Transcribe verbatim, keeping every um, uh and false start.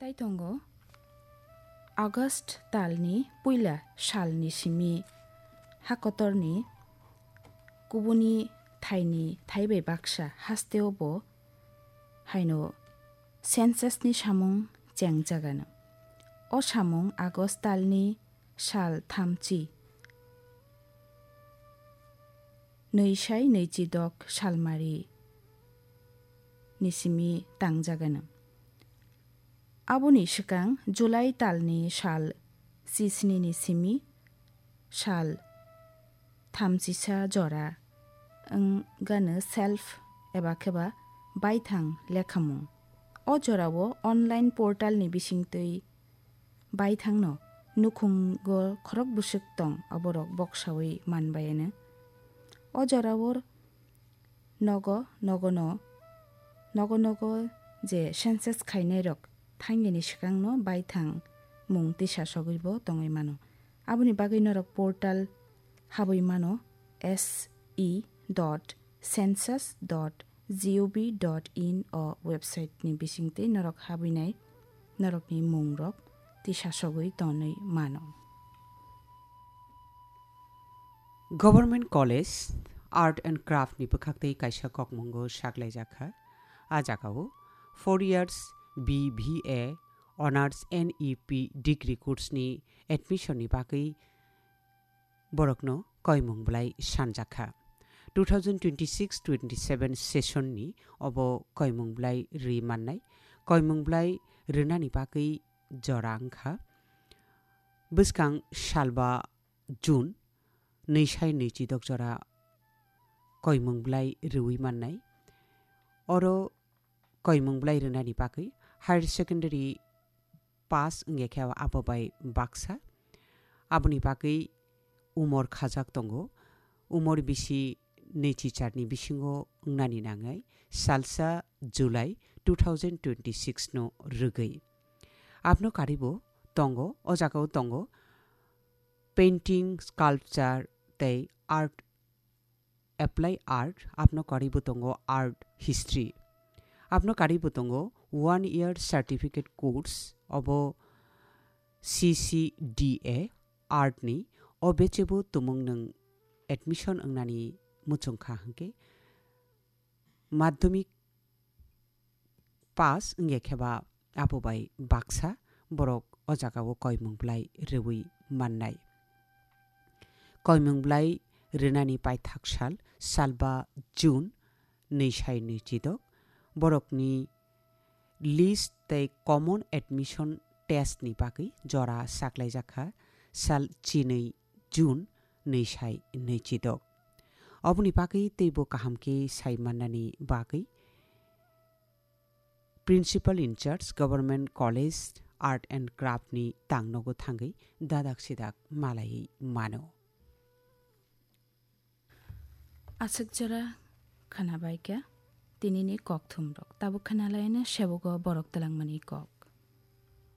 Tai tongo, August talni puila salni simi hakotorni kubuni thaini thaibai baksa hasteo bo haino census ni samung chengjagano. O samung August talni sal thamchi nwi sai nwichi dok salmari ni simi tangjagano. Aboni swkang July talni sal chisni ni simi sal thamchisa jora wngano self eba kheba baithang lekhamung. O jorao online portal ni bisingtwi baithangno nukhungo khorok bwswk tong, aborok boksawi manbayano. O jorao nogo nogono, nogo nogo je census khainairok thangnini swkangno baithang mung tisa sogwibo tongwi mano. Aboni bagwi norok portal habwi mano, S E dot census dot gov dot in o website ni bisingtwi norok habwinai norokni mungrok tisa sogwi tonwi mano. Government College Art and Craft ni bwkhaktwi kaisa kokmungo saklaijakha. A jagao four years B B A Honours N E P degree course ni admission ni bagwi borokno koimung bwlai sanjakha. Two thousand twenty-six twenty-seven session ni obo koimung bwlai rwi mannai. Koimung bwlai rwnani bagwi jora wngkha. Bwskang salba June nwi sai nwi chidok jora koimung bwlai rwi mannai. Oro koimung bwlai rwnani bagwi higher secondary pass wngya khe abo bai baksa. Aboni bagwi umor khajak tongo. Umor bisi nwi chicharni bisingo wngnani nangnai salsa July two thousand twenty-six no rwgwi. Abno karibo tongo, o jagao tongo painting, sculpture tei art, apply art, abno karibo tongo art history. Abno karibo tongo one year certificate course, obo C C D A art ni, o bechebo tumung nwng admission wngnani muchungkha hwnkhe madhyamik pass wngya khe ba abo bai baksa borok o jagao koimung bwlai rwui mannai. Koimung bwlai rwnani paithak sal, salba June nwi sai nwi chidok, borokni list tei common admission test ni bagwi jora saklaijakha sal chinwi June nwi sai nwi chidok. Oboni bagwi teibo kaham khe sai mannani bagwi Principal in charge Government College Art and Craft ni tangnogo thangwi dadak sidak malaiwi mano. Aswk jora khwnabaikha tinini kokthumrok, tabuk khwnalaina sebogo borok twlangmani kok.